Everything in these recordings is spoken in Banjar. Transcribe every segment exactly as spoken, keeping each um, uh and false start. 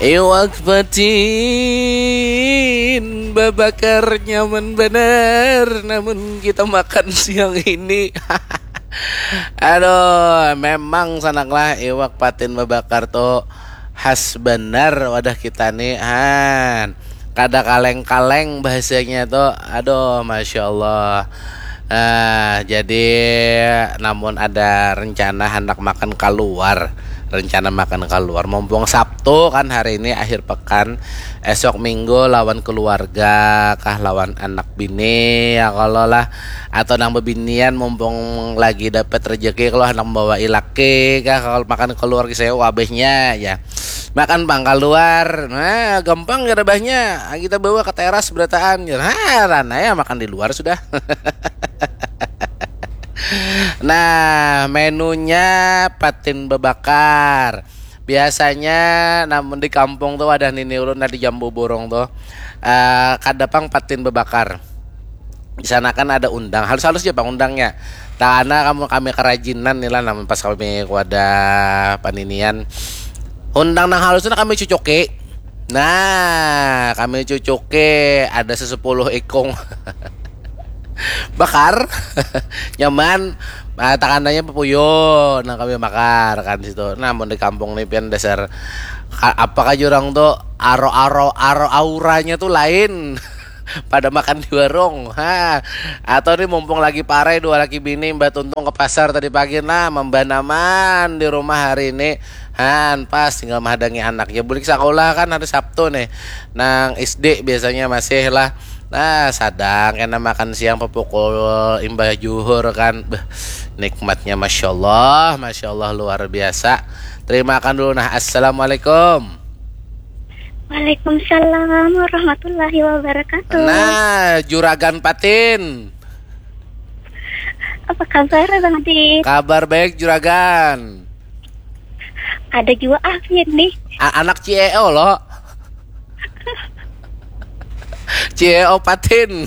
Iwak patin babakar nyaman banar namun kita makan siang ini. Aduh, memang sanaklah iwak patin babakar tuh khas benar wadah kita nih, han. Kada kaleng-kaleng bahasanya tuh. Aduh, masya Allah. Nah, jadi namun ada rencana hendak makan keluar, rencana makan keluar, mumpung Sabtu kan hari ini akhir pekan, esok Minggu lawan keluarga kah, lawan anak bini ya kalau lah, atau nang bebinian mumpung lagi dapat rezeki kalau hendak membawa ilaki kah, kalau makan keluar saya wabahnya ya. Makan pang keluar, nah gampang ya rebahnya, kita bawa ke teras berataan, ya. Ha, rana ya makan di luar sudah. Nah, menunya patin bebakar. Biasanya namun di kampung tuh ada nini ulun di Jambu Burung tuh. Eh, kada pang patin bebakar. Di sana kan ada undang, halus-halus aja pang undangnya. Takana kamu kami kerajinan nih lah, namun pas kami kuada paninian. Undang nang halusnya kami cucuki. Nah, kami cucuki ada sesepuluh ikung. Bakar. Nyaman. Nah, takananya pepuyo, nah kami bakar kan situ. Nah, mun di kampung nih pian dasar ka- apa kah jurang tuh, aro aro aro auranya tuh lain. Pada makan di warung, ha. Atau nih mumpung lagi parai dua laki bini, mbak tuntung ke pasar tadi pagi, nah membanaman di rumah hari ini. Han pas tinggal menghadangi anaknya bulik sekolah kan hari Sabtu nih, nang S D biasanya masih lah. Nah, sadang kena makan siang pepukul imbah juhur kan. Beuh, nikmatnya masya Allah, masya Allah luar biasa. Terima kan dulu nah. Assalamualaikum. Waalaikumsalam warahmatullahi wabarakatuh. Nah, juragan patin. Apa kabar Bang Adit? Kabar baik juragan. Ada juga ah nih. A- anak C E O lo. C E O patin.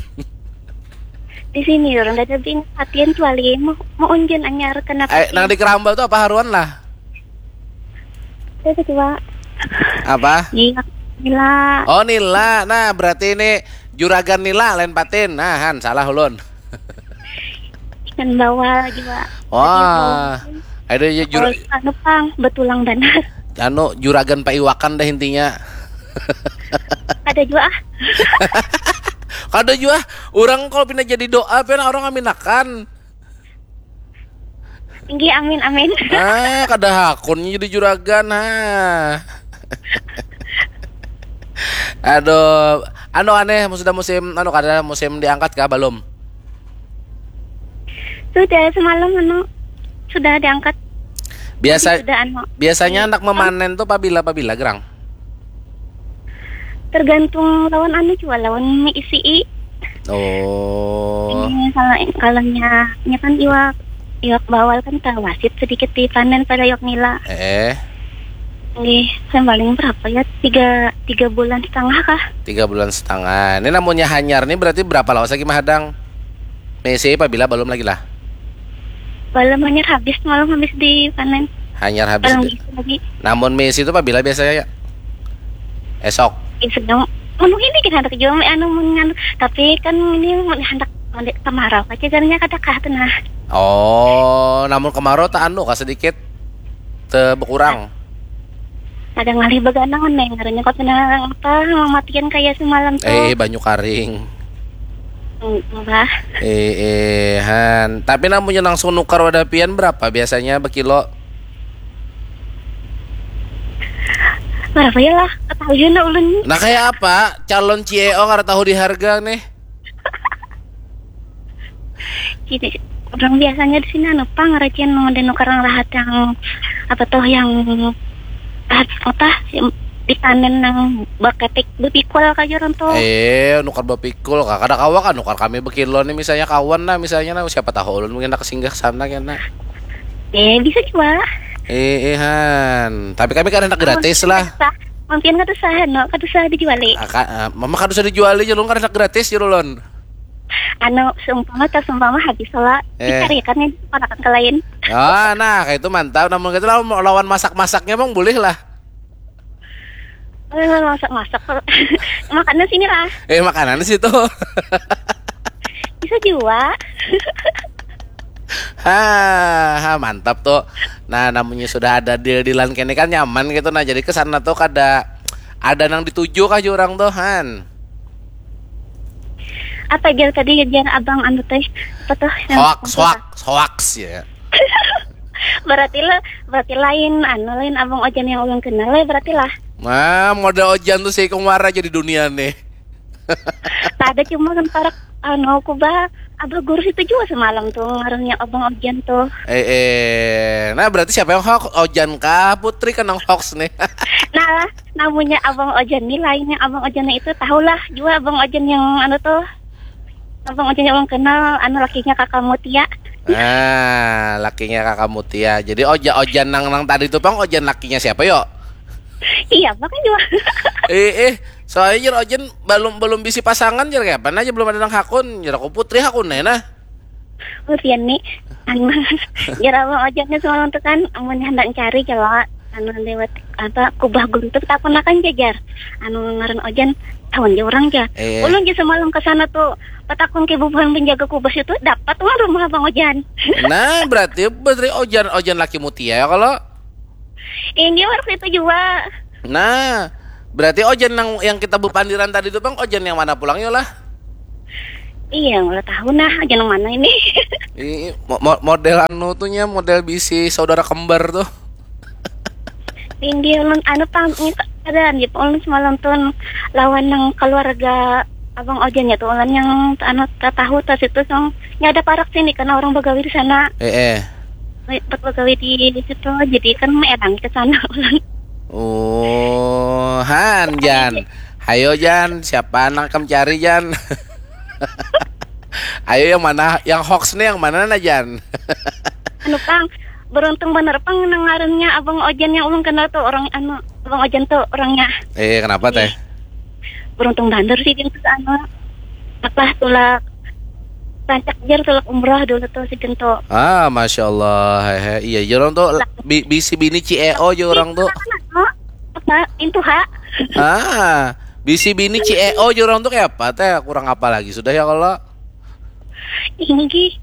Di sini orang ada bing patin tuh ali mau mau unjun anyar kenapa? Eh, nang di keramba tuh apa haruan lah? Ada juga. Apa? Nila. Nila. Oh Nila. Nah berarti ini juragan Nila lain patin. Nah Han salah ulun. Ikan bawal juga. Wah. Ada ya jur. Anu pang betulang banar. Anu juragan paiwakan dah intinya. Ada juga ah. Kada jua, orang kalau pina jadi doa pina orang aminakan. Tinggi amin amin. Ah, kada hakun jadi juragan ha. Aduh, anu aneh sudah musim anu kada musim diangkat kah belum? Sudah semalam anu sudah diangkat. Biasa sudah, anu. Biasanya anak memanen tuh pabila pabila gerang. Tergantung lawan anu jua lawan isi i. Oh. Ini kalau kalau nya nya kan iwak iwak bawal kan tawasit sedikit dipanen pada iwak nila. Eh. Nggih, paling berapa ya? Tiga tiga bulan setengah kah? Tiga bulan setengah. Ini namanya hanyar nih berarti berapa lawas lagi mahadang? Misi pabila belum lagi lah. Belum hanyar habis malam habis dipanen. Hanyar habis. Belum di... lagi. Namun misi itu pabila biasanya ya? Esok. Ya sedang anu ini kan ada juga anu mun anu tapi kan ini mun handak kemarau aja jadinya kada kah tuh nah. Oh, namun kemarau tak anu kah sedikit te berkurang. Ada ngalih beganangan neng ngarannya kau pina apa mamatian kaya semalam tuh. Eh, banyu karing. Bah. Eh, eh, han. Tapi namunnya langsung nukar wadah pian berapa biasanya berkilo? Berapa ya lah? Ketahui na ulun. Nah, kayak apa? Calon C E O kada tahu di harga nih. Gini, orang biasanya di sini anu pang rajin mau denukar yang rahat yang apa tuh yang rahat apa dipanen nang baketik bepikul kaja orang tuh. Eh, nukar bepikul kah? Kada kawa kan nukar kami bekilo nih misalnya kawan lah misalnya nah siapa tahu ulun mungkin nak singgah sana kena. Eh, bisa juga. Eh, eh han. Tapi kami kan hendak gratis lah. Mungkin kada usah, no, kada usah dijuali. Ah, ka, ah, mama kada usah dijuali, jalur kada hendak gratis, jalur lon. Anu seumpama tak seumpama habis lah eh. Dicarikan nih panakan ke lain. Ah, nah, kayak itu mantap. Namun kita lawan, lawan masak-masaknya emang boleh lah. Eh, masak-masak. Makanan sini lah. Eh, makanan situ. Bisa juga. Ha, ha, mantap tuh. Nah, namanya sudah ada deal-dealan kene kan nyaman gitu. Nah, jadi ke sana tuh kada ada nang dituju kah orang tuh, Han? Apa jar tadi jar abang anu teh? Apa tuh? Yang Hoax, itu, hoax, hoax ya. Berarti lah, berarti lain anu lain abang Ojan yang ulun kenal lah berarti lah. Nah, model Ojan tuh si Kumara jadi dunia nih. Tak ada cuma kan parak anu aku bah abah guru itu juga semalam tuh ngarannya abang Ojan tuh. Eh, eh. Nah, berarti siapa yang hoax? Ojan kah, Putri kan yang hoax nih? Nah lah, namanya abang Ojan nih lainnya abang Ojan itu tahulah juga abang Ojan yang anu tuh. Abang Ojan yang ulun kenal anu lakinya kakak Mutia. Nah, lakinya kakak Mutia. Jadi Oja Ojan nang nang tadi tuh pang Ojan lakinya siapa yo? Iya, makanya juga. Eh, eh, soalnya jar Ojan belum belum bisi pasangan jar kayak apa aja belum ada nang hakun jar aku Putri hakun nih nah. Usian nih, anu, jar abang Ojan nih semalam tuh kan, amunnya hendak cari jar lah, anu lewat apa kubah guntur takun akan jajar, anu ngaran Ojan tahun ja orang ja. Iya. Ulun ja semalam ke sana tuh petakun ke bubuhan penjaga kubah itu dapat uang rumah abang Ojan. Nah, berarti Putri Ojan Ojan laki Mutia ya kalau. Ini waktu itu juga. Nah, berarti Ojan yang yang kita bepandiran tadi tuh bang Ojan yang mana pulang yo lah? Iya, nggak tahu nah Ojan yang mana ini. Ini mo- mo- model anu tuh nya model bisi saudara kembar tuh. Tinggi ulun anu pang ini keadaan ya ulun semalam tuh lawan yang keluarga abang Ojan ya tuh ulun yang anu tak tahu tas itu song ya ada parak sini karena orang begawi di sana. Eh eh. Tempat begawi di situ jadi kan enak ke sana ulun. Oh, Han Jan. Hayo Jan, siapa nang kam cari Jan? Ayo yang mana? Yang hoax nih yang mana nah Jan? Anu pang beruntung bener pang nang ngarannya abang Ojan yang ulun kenal tuh orang anu abang Ojan tuh orangnya. Eh, kenapa teh? Beruntung bener sih dia tuh anu apa tulak rancak jar tulak umrah dulu tuh si Gento. Ah, masya Allah. Hehe. Iya, jar orang tuh bi- bisi bini C E O aja orang tuh. Apa itu ha? Ah, bisi bini C E O aja orang tuh kayak apa teh? Kurang apa lagi sudah ya kalau. Tinggi.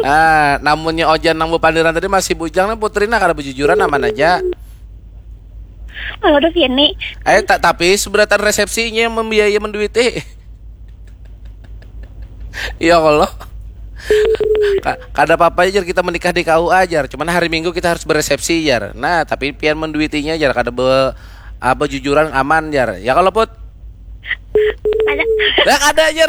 Ah, namunnya Ojan nang bepandiran tadi masih bujang nih Putri nah kada bejujuran aman aja. Kalau udah Vianney. Eh, tak tapi seberatan resepsinya yang membiayai menduiti. Ya Allah. Ka- kada apa-apa aja kita menikah di K U A aja. Cuman hari Minggu kita harus beresepsi aja. Nah, tapi pian menduitinya aja kada be apa jujuran aman aja. Ya kalau Put? Ada. Lah kada aja.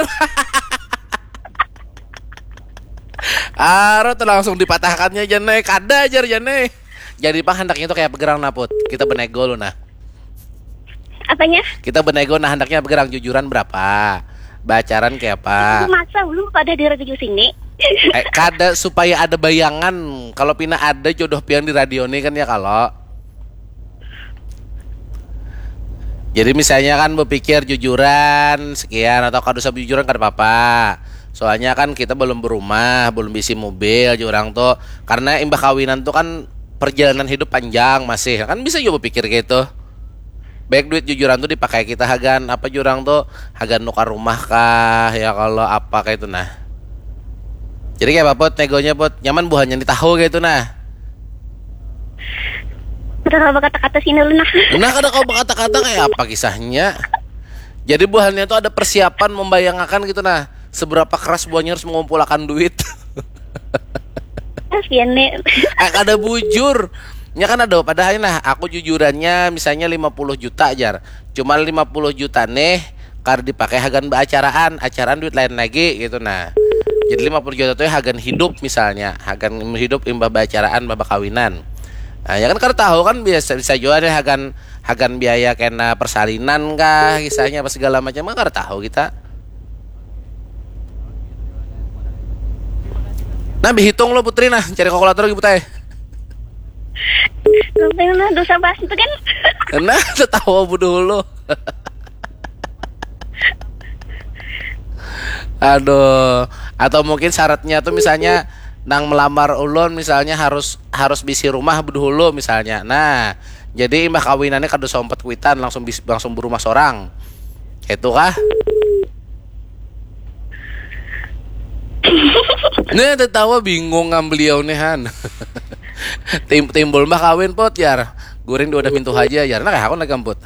Aro tuh langsung dipatahkannya Jane, kada aja Jane. Jadi pang handaknya tuh kayak begerang nah Put. Kita benego lu nah. Apanya? Kita benego nah handaknya begerang jujuran berapa? Bacaran kayak apa? Masa ulun pada di radio sini. Eh, kada supaya ada bayangan kalau pina ada jodoh pian di radio nih kan ya kalau. Jadi misalnya kan berpikir jujuran sekian atau kada usah jujuran kada apa-apa. Soalnya kan kita belum berumah, belum bisi mobil aja orang tuh. Karena imbah kawinan tuh kan perjalanan hidup panjang masih. Kan bisa juga berpikir gitu. Baik duit jujuran tuh dipakai kita hagan apa jurang tuh hagan nukar rumah kah ya kalau apa kayak itu nah. Jadi kayak apa Put negonya Put nyaman buhannya di tahu kayak itu nah. Udah kalau kata-kata sini lu nah. Nah kada kau berkata-kata kayak apa kisahnya. Jadi buhannya tuh ada persiapan membayangkan gitu nah seberapa keras buahnya harus mengumpulkan duit. Kasian nih. Eh kada bujur. Nya kan ada padahal nah aku jujurannya misalnya lima puluh juta ajar. Cuma lima puluh juta nih kar dipakai hagan baacaraan, acaraan duit lain lagi gitu nah. Jadi lima puluh juta tuh hagan hidup misalnya, hagan hidup imbah baacaraan, imbah bakawinan. Nah, ya kan kada tahu kan biasa bisa juga nih hagan hagan biaya kena persalinan kah kisahnya apa segala macam kan kada tahu kita. Nah, dihitung lo Putri nah, cari kalkulator lagi Putai. Sampai mana dosa bahas itu kan? Nah, tertawa bodoh lo. Aduh, atau mungkin syaratnya tuh misalnya nang melamar ulun misalnya harus harus bisi rumah dulu misalnya. Nah, Jadi imbah kawinannya kada usah umpat kuitan, langsung bis, langsung berumah sorang. Itu kah? Nah, tetawa bingung ngam beliau nih, Han. Tim, timbul mah kawin, Put, jar. Guring di wadah mintu haja, jar. Nah, kayak aku lagi, Put.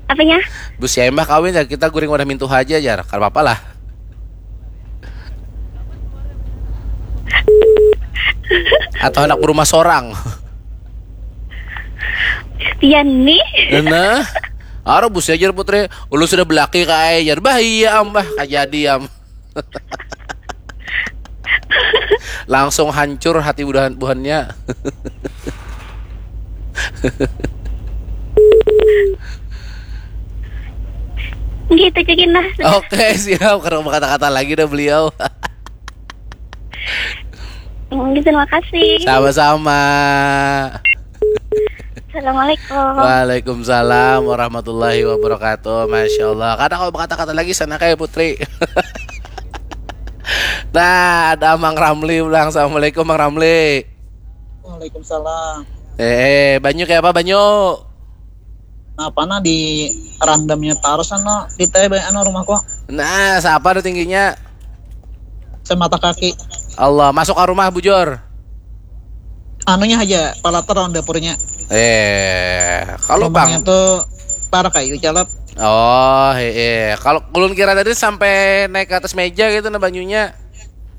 Apanya? Bus ya, mah kawin, jar, kita guring wadah mintu haja, jar. Kada apa-apa lah. Atau anak berumah sorang. Pian nih. Nah, aro bus ya, jar, Putri. Ulun sudah belaki, kai, jar. Bah, iya, am, bah, kajadi, am. Langsung hancur hati buhan buhannya. Gitu, cekin lah. Oke, siap. Kalau berkata-kata lagi dah beliau. Oke, terima kasih. Sama-sama. Assalamualaikum. Waalaikumsalam warahmatullahi wabarakatuh. Masya Allah. Kada kalau berkata-kata lagi sana kayak Putri. Nah, ada Mang Ramli ulang. Assalamualaikum, Mang Ramli. Waalaikumsalam. Eh, eh, banyu kayak apa, banyu? Napa nah di randamnya tarus anu di teh anu rumahku Nah, siapa ada tingginya? Semata kaki. Allah, masuk ke rumah, bujur. Anunya aja palatar lawan dapurnya. Eh, kalau Rumahnya bang, tuh tar kayu calap. Oh, eh, kalau ulun kira tadi sampai naik ke atas meja gitu nah banyunya.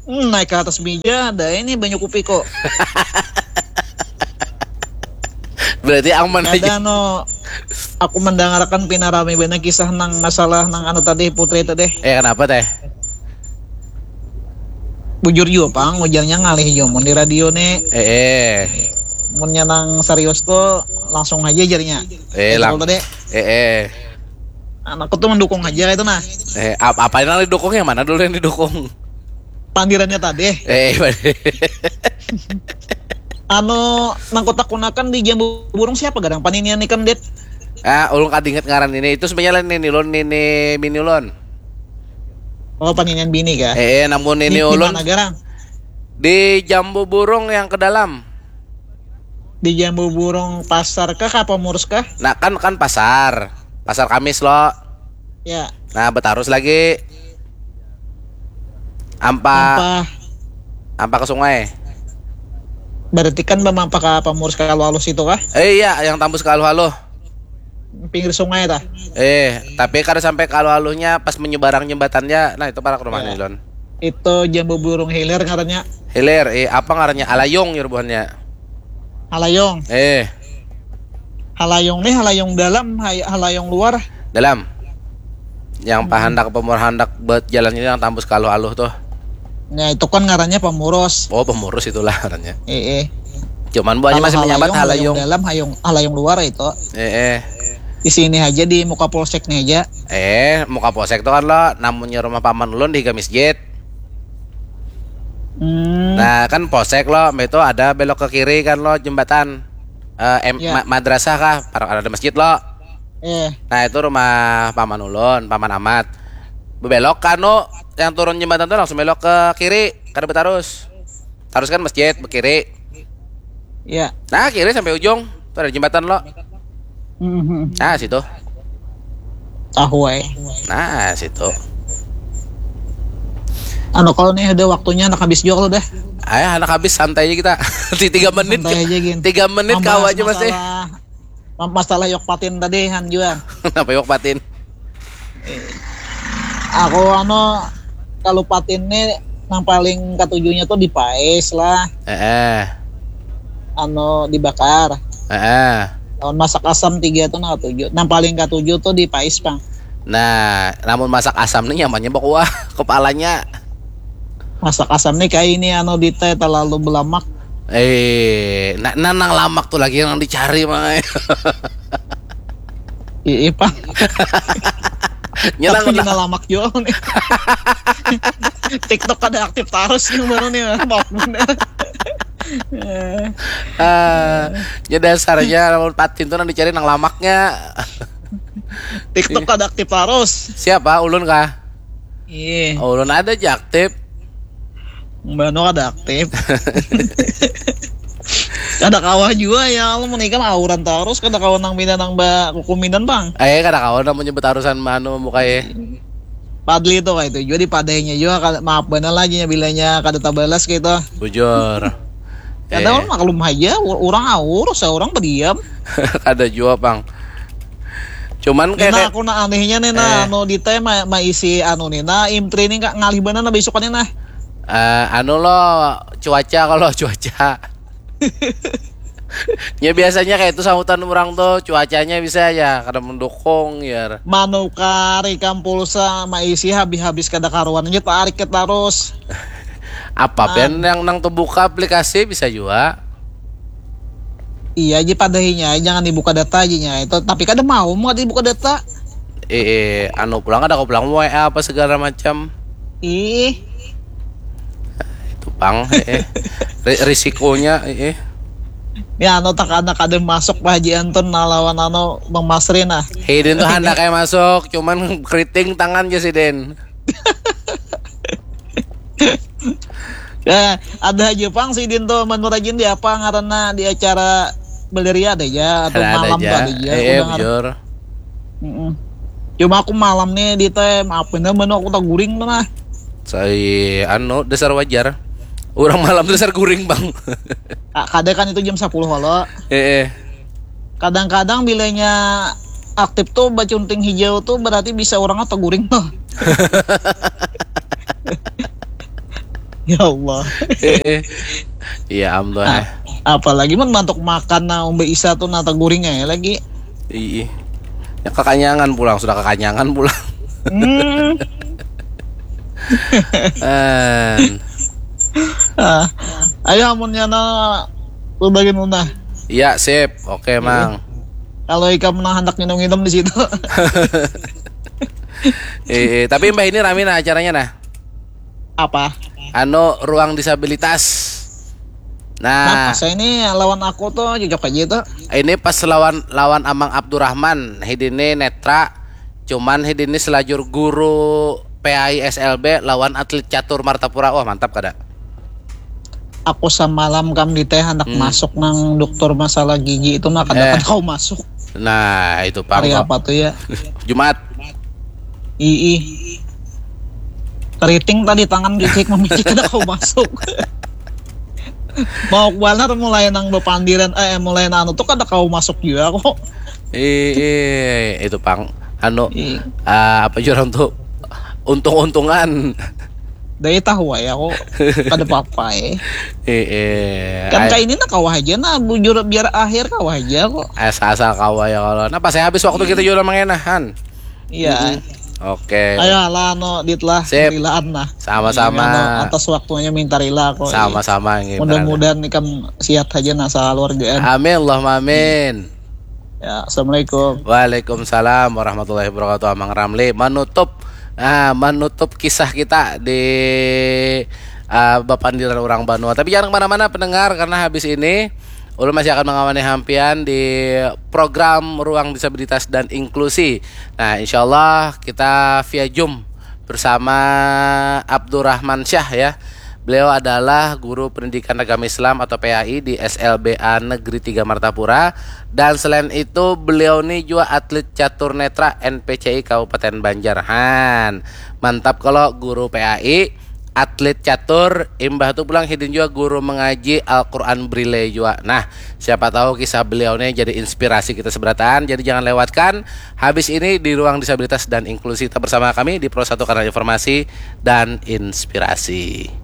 Hmm, naik ke atas meja ada ini banyu kupi kok. Berarti aman aja. Ada no aku mendengarkan pina rame banget kisah nang masalah nang anu tadi putri tadi. Eh, kenapa teh? Bujur juga pang ujarnya ngalih juga mun di radio nih. Eh, eh. Munnya nang serius tuh langsung aja jarnya. Eh, lang- Kalau tadi Eh, eh. Anakku tuh mendukung aja itu nah. Eh, ap- apa yang didukung, yang mana dulu yang didukung? Pandirannya tadi. Eh, Anu nang kotak kunakan di jambu burung siapa gadang paninian ikam dit? Ah, ulun kada ingat ngaran ini. Itu sebenarnya lain nini ulun, nini bini ulun. Oh paninian bini kah? Eh, eh, namun ini Di- di ulun mana garang? Di jambu burung yang ke dalam. Di jambu burung pasar kah apa murus kah? Nah, kan kan pasar. Pasar Kamis lo. Ya. Nah, betarus lagi. Ampa Ampa. Ampa ke sungai. Berarti kan bamampa ke apa murus kalau halus itu kah? Eh, iya, yang tambus ke aluh-aluh. Pinggir sungai tah. Eh, tapi kada sampai ke aluh-aluhnya pas menyeberang jembatannya. Nah, itu parak rumah Ya. nih, Lon. Itu jambu burung hilir ngarannya. Hilir, eh, apa ngarannya? Alayung ya buhannya. Halayung. Eh, Halayung nih halayung dalam, hay- halayung luar. Dalam. Yang pahandak pemur handak buat jalan ini yang tambus ke aluh-aluh tuh. Ya itu kan ngarannya pemurus. Oh, pemurus itulah ngarannya. Eh, eh. Cuman buahnya Kalau masih menyambat halayung halayung. Dalam hayung halayung luar itu. Eh, eh. Di sini aja di muka polsek nih aja. Eh, muka polsek tuh kan lo, namunnya rumah paman ulun di higa masjid. Hmm. Nah, kan polsek lo, mbak itu ada belok ke kiri kan lo jembatan. Eh, em, Ya. ma- madrasah kah? Parang ada masjid lo. Eh, Nah, itu rumah paman ulun, paman Amat. Bebelok ke anu yang turun jembatan tuh langsung belok ke kiri, kada betarus. Tarus kan masjid, ke kiri. ya. Nah, kiri sampai ujung, tuh ada jembatan lo. Hmm. Nah, situ. Tahu eh. Nah, situ. Anu kalau nih udah waktunya anak habis juga kalau dah. Ayah anak habis santai aja kita. Di tiga menit. Santai aja gin. Tiga menit kau Membahas aja masih. Masalah, ma- masalah yok patin tadi han juga. Kenapa yok patin? Aku anu kalau patin nih yang paling katujuhnya tuh dipais lah. Eh, eh. Anu dibakar. Eh, eh. Lawan masak asam tiga tuh nang katujuh. Yang paling katujuh tuh dipais pang. Nah, namun masak asam nih nyamannya bakuah kepalanya. Masak asam nih kayak ini anu di teh terlalu belamak. Eh, nah, nah, nang lamak tuh lagi yang dicari mang. Iya pang. Nyenang Tapi lah. Dina lamak juga nih. TikTok ada aktif terus nih baru nih maaf bener. Eh, Eh, ya dasarnya lamun patin tuh nang dicari nang lamaknya. TikTok ada aktif terus. Siapa? Ulun kah? Iya, Oh, ulun ada aja aktif. Mbak Nur ada aktif. Kada kawa jua ya, kalau menikah auran terus, kada kawa nang bina nang ba kukuminan bang. Eh, kada kawa nang menyebut arusan manu mukai. Padli itu kayak itu juga dipadainya juga, maaf benar lagi ya bilanya kada tabalas gitu. Bujur. Kada eh. Maklum aja, orang aurus ya orang berdiam. Kada juga bang. Cuman kayak, nah, aku nak anehnya nih nah, eh. Anu di tema maisi anu nih nah, imtri nih ngalih benar nah besokannya nah. Uh, anu lo cuaca kalau cuaca ya biasanya kayak itu sahutan orang tuh cuacanya bisa aja kada mendukung ya. Manukar ikam pulsa maisi habis-habis kada karuan aja tarik ke terus. Apa nah. Ben yang nang terbuka aplikasi bisa juga. Iya aja padahinya jangan dibuka data aja itu tapi kada mau mau dibuka data. Eh, eh anu pulang ada kau pulang WA apa segala macam. Ih. Itu pang eh. Risikonya eh. Ya anu tak anak ada masuk Pak Haji Anton nah lawan anu Bang Masri nah. Hidin tuh hendak kayak masuk, cuman keriting tangan aja sih Den. Ya, ada aja pang si Din tuh menurut Ajin di apa ngaranna di acara Beleria ada aja atau ada, malam ada aja. Tuh ada aja. Eh, eh, bujur. Mm-mm. Cuma aku malam nih di teh maaf bener bener aku tak guring tuh nah. Saya anu dasar wajar. Orang malam dasar guring bang. Kada kan itu jam sepuluh halo. Eh, eh. Kadang-kadang bilanya aktif tuh bacunting hijau tuh berarti bisa orang atau guring tuh. Ya Allah. Iya Allah. Nah, apalagi mun mantuk makan nah umbe isa tuh nata guring ya lagi. Iya. Ya kekanyangan pulang sudah kekanyangan pulang. Hmm. ah, ayo amunnya na berbagi nuna. Iya sip, oke iya. Mang. Kalau ikam menang hendak minum-minum di situ. eh, eh, tapi mbah ini rame nah acaranya nah. Apa? Anu ruang disabilitas. Nah, nah saya ini lawan aku tuh cocok aja tuh. Ini pas lawan lawan Amang Abdurrahman, hidini netra, cuman hidini selajur guru P A I S L B lawan atlet catur Martapura. Wah, mantap kada? Aku samalam kam di teh anak hmm. Masuk nang dokter masalah gigi itu nah kada eh. Kau masuk. Nah, itu pang. Hari apa tuh ya? Jumat. Ii. Keriting tadi tangan gigi memicik kada kau masuk. Mau banar mulai nang bepandiran eh mulai nang anu tuh kada kau masuk juga kok. Ii, itu pang anu uh, apa jurang tuh untung-untungan. Dari tahu ya kok kada apa-apa eh. Ii, kan kayak ini nak kawah aja nah bujur biar akhir kawah aja kok. Asal-asal kawah ya kalau. Nah pas saya habis waktu kita juga mengenahan. Iya. Oke. Ayo lah no dit lah. Sip. Rilaan lah. Sama-sama. Atas waktunya minta rila kok. Sama-sama. Mudah-mudahan nih kan sehat aja nasa keluarga. Amin Allahumma amin. Ya, assalamualaikum. Waalaikumsalam warahmatullahi wabarakatuh. Amang Ramli menutup ah, menutup kisah kita di uh, Bapandiran Orang Banua. Tapi jangan kemana-mana pendengar karena habis ini Ulun masih akan mengawani hampian di program Ruang Disabilitas dan Inklusi. Nah, insya Allah kita via Zoom bersama Abdurrahman Syah ya. Beliau adalah guru pendidikan agama Islam atau P A I di S L B A Negeri tiga Martapura dan selain itu beliau ini juga atlet catur netra N P C I Kabupaten Banjar. Han, mantap kalau guru P A I atlet catur, imbah tu pulang hidin jua guru mengaji Al-Quran Braille jua. Nah, siapa tahu kisah beliau ni jadi inspirasi kita seberataan. Jadi jangan lewatkan habis ini di ruang disabilitas dan inklusi. Tetap bersama kami di Pro satu Kanal Informasi dan Inspirasi.